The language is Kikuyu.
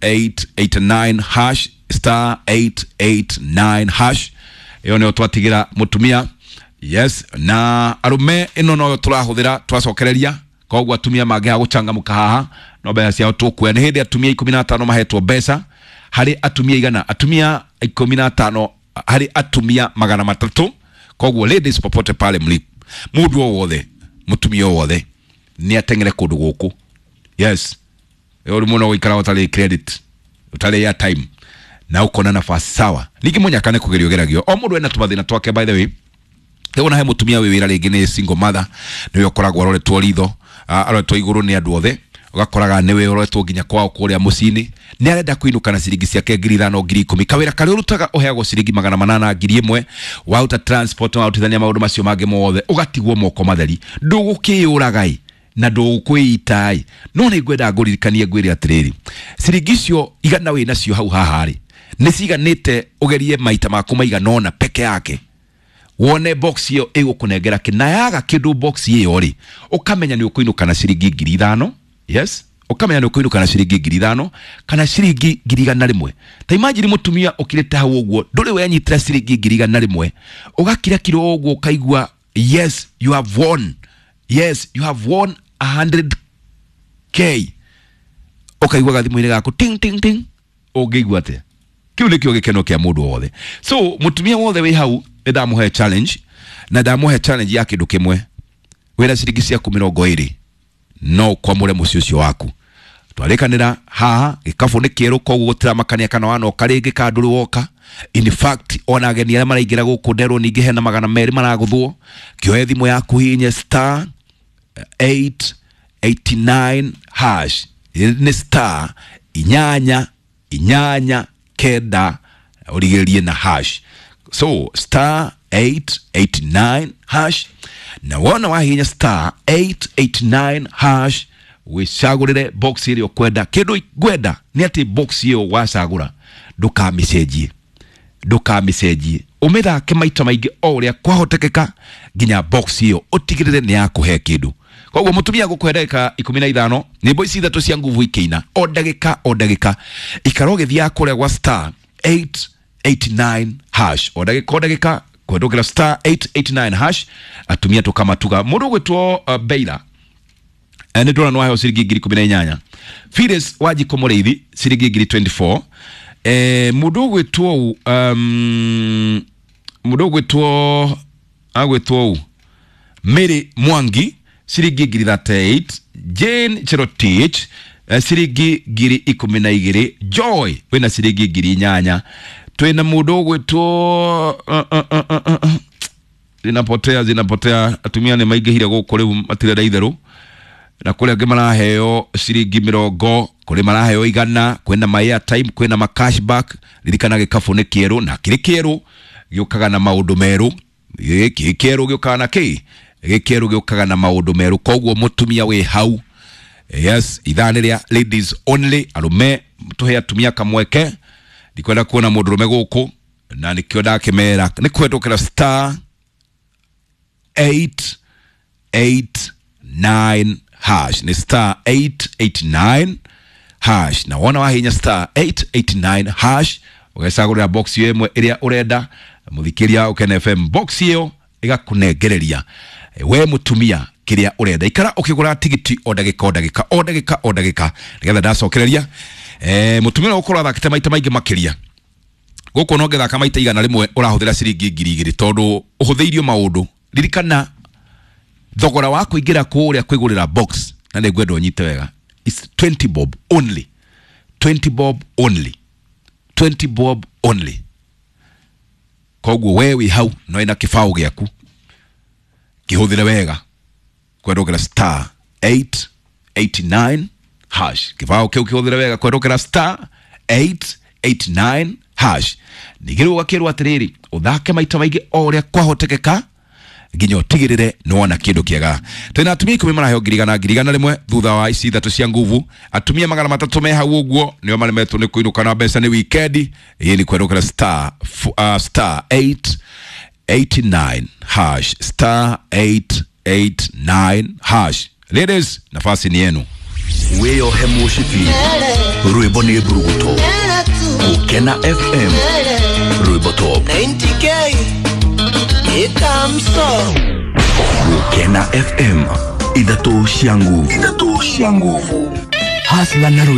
889 hash, star 889 hash. Ĩyo nĩyo twatigira mũtumia. Yes, na arume ĩno noyo tũrahũthĩra twacokereria, koguo atumia mangĩaga gũcangamũka haha no mbeca ciao tũkuoya. Nĩ hĩndĩ atumia 15 mahetwo mbeca harĩ atumia 100, atumia 15 harĩ atumia 300. Koguo ladies popote pale mlipo, mũndũ o wothe, mũtumia o wothe nĩ ateng'ere kũndũ gũkũ. Yes, ũrĩ mũno gũikara ũtarĩ credit, ũtarĩ airtime na ũkona nafasi sawa. Ningĩ mũnyaka nĩ kũgerio geragio, o mũndũ ena tũmathĩna twake. By the way, rĩu ona he mũtumia wĩ wĩra rĩngĩ nĩ single mother, nĩwe ũkoragwo aroretwo ritho, aroretwo igũrũ nĩ andũ othe, ũgakoraga nĩwe ũroretwo nginya kwao kũrĩa mũciĩ-inĩ, nĩ arenda kũinũka na ciringi ciake 5,000, 10,000. Kawĩra karĩa ũrutaga ũheagwo ciringi 800, 1,000, waruta transport, warutithania maũndũ macio mangĩ mothe, ũgatigwo moko matheri. Ndũgũkĩyũraga na ndũkwĩita, no nĩ ngwenda ngũririkanie ngwĩre atĩrĩrĩ, ciringi icio 100 wĩ nacio hau haha rĩ, nĩ ciganĩte ũgerie maita maku maigana ũna peke yake, wone box ĩyo ĩgũkũnengera kĩ, na yaga kĩndũ box ĩyo rĩ, ũkamenya nĩ ũkũinũka na ciringi 5,000. Yes, ũkamenya nĩ ũkũinũka na ciringi 5,000 kana ciringi 100,000. Ta imagine mũtumia ũkirĩte hau ũguo, ndũrĩ wenyitĩra ciringi 100,000, ũgakira kiro ũguo ũkaigua yes you have won, yes you have won 100K, ũkaigua gathimũ-inĩ gaku ting ting ting, ũngĩigua atĩa? Kĩu nĩkĩo gĩkeno kĩa mũndũ wothe. So mũtumia wothe wĩ hau nĩ ndamũhe challenge, na ndamũhe challenge ya kĩndũ kĩmwe. Wĩna ciringi ciaku 20 no ũkwamũre mũciĩ ũcio waku. Twarĩkanĩra haha gĩkabũ nĩ kĩerũ, koguo gũtiramakania kana wanoka rĩngĩ kana ndũrĩ woka. In fact, ona ageni arĩa maraingĩra gũkũ nderwo ningĩ hena 200 maragũthwo. Kĩoe thimũ yaku, hihinye star 889 hash, nĩ star 889 ũrigĩrĩrie na hash. So star 889 hash, na wona wahihinya star 889 hash, wĩcagũrĩre box ĩrĩa ũkwenda. Kĩndũ ngwenda nĩ atĩ box ĩyo wacagũra ndũkamĩcenjie, ndũkamĩcenjie, ũmĩthake maita maingĩ o ũrĩa kwahotekeka nginya box ĩyo ũtigĩrĩre nĩ yakũhe kĩndũ. Koguo mũtumia gũkũhe ndagĩka 15, nyĩmbo ici ithatũ cia nguvu ikĩina o ndagĩka o ndagĩka, ikara ũgĩthiaga kũrĩa gwa star 889 hash o ndagĩka o ndagĩka, kũhetũkĩra star 889 hash. Atumia tũkamatuga. Mũndũ ũgwĩtwo Beira, nĩ ndĩrona nĩ waheo ciringi 18,000. Phyllis Wanjikũ Mũrĩithi ciringi 24,000. Mũndũ ũgwĩtwo mũndũ ũgwĩtwo agwĩtwo u Mary Mwangi ciringi 38,000. Jane Cherotich ciringi 12,000. Joy wĩna ciringi 8,000. Twĩna mũndũ ũgwĩtwo zinapotea zinapotea, atumia nĩ maingĩhire gũkũ rĩu matirenda itherũ, na kũrĩ angĩ maraheo ciringi 20, kũrĩ maraheo 100, kwĩna ma airtime, kwĩna ma cashback. Ririkana gĩkabũ nĩ kĩerũ, na kĩrĩ kĩerũ gĩũkaga na maũndũ merũ. Gĩkĩ kĩerũ gĩũkaga na kĩ? Gĩkĩerũ gĩũkaga na maũndũ merũ. Koguo mũtumia wĩ hau, yes, ithaa nĩ rĩa ladies only, arũme tũhe atumia kamweke. Ndikwenda kuona mũndũrũme gũkũ, na nĩkĩo ndakĩmera nĩ kũhetũkĩra star 889 hash, nĩ star 889 hash. Na wona wahinya star 889 hash, ũgecagũrĩra box ĩyo ĩmwe ĩrĩa ũrenda. Mũthikĩria Ũkene FM, box ĩyo ĩgakũnengereria we mũtumia kĩrĩa ũrenda. Ikara ũkĩgũra tigiti o ndagĩka o ndagĩka o ndagĩka o ndagĩka, nĩgetha ndacokereria mũtumia ũrĩa ũgũkorwo athakĩte maita maingĩ makĩria gũkũ, no ngĩthaka maita 100 ũrahũthĩra ciringi 2,000, tondũ ũhũthĩirio maũndũ. Ririkana thogora wa kũingĩra kũrĩa kwĩgũrĩra box, na nĩ ngwenda ũnyite wega, is 20 bob only, 20 bob only, 20 bob only. Koguo we wĩ hau no ĩna kĩbaũ gĩaku, kĩhũthĩre wega kwendũkĩra star 889 hash. Kĩbaũ kĩu kĩhũthĩre wega kwendũkĩra star 889 hash. Ningĩ rĩu ũgakĩrwo atĩrĩrĩ, ũthake maita maingĩ o ũrĩa kwahotekeka nginya ũtigĩrĩre nĩ wona kĩndũ kĩega. Twĩna atumia 10 maraheo 100,000, 100,000 thutha wa ici ithatũ cia nguvu. Atumia 300 me hau ũguo nĩo maremetwo nĩ kũinũka na mbeca nĩ wikendi. Ĩĩ nĩ kwerũkĩra star star 889 hash, star 889 hash. Ladies, nafasi ni yenu. Wĩyohe mũcibi, rwĩmbo nĩ mburuguto. Gũkena FM, rwĩmbo top. 90K ikamso. Gũkena FM, ithatũ cia nguvu, ithatũ cia nguvu. Hasla na.